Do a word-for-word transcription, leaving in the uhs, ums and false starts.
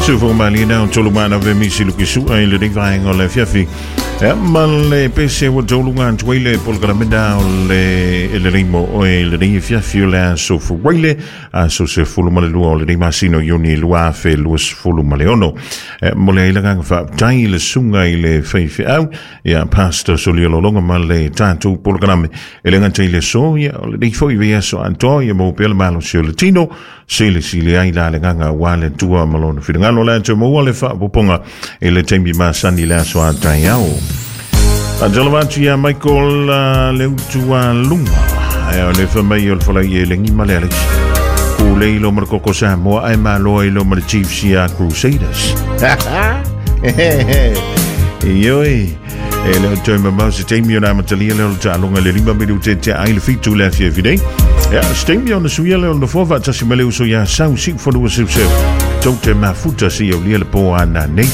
Sufu mali na tolu mana ve misi luki sua i le nei vaenga o le afiafi. Ia ma le pese ua tauluga atu ai le polokalame o le e lelei mo oe i lenei afiafi o le aso Fuaile, aso sefulu ma le lua o lenei masina o Iuni lua afe luasefulu ma le ono. E momoli ai le agaga faafetai i le susuga i le faifeau ia Pastor Solia Lolonga ma le tatou polokalame e le gata i le aso ia o lenei foi vaiaso atoa ia maua pea le malosi o le tino silisili ai la le agaga aua le Atua ma lona finagalo le atu maua le faapopoga i le taimi masani le aso a taeao. Faatalofa atu ia Michael uh, Leutualuga e o le famai o le folai e legi ma le Alex. Kulei lo ma le koko Samoa ai malo ai lo ma le Chiefs ia Crusaders. Ioi. E le o toe mamau se taimi o na amatalia le o le taaloga le lima minute tea ai le fitu le afiafi nei. Ia, se taimi ona suia le o le nofoa faatasi ma le uso ia sau siu fanua seuseu. Tou te mafuta se aulia le po ana nei.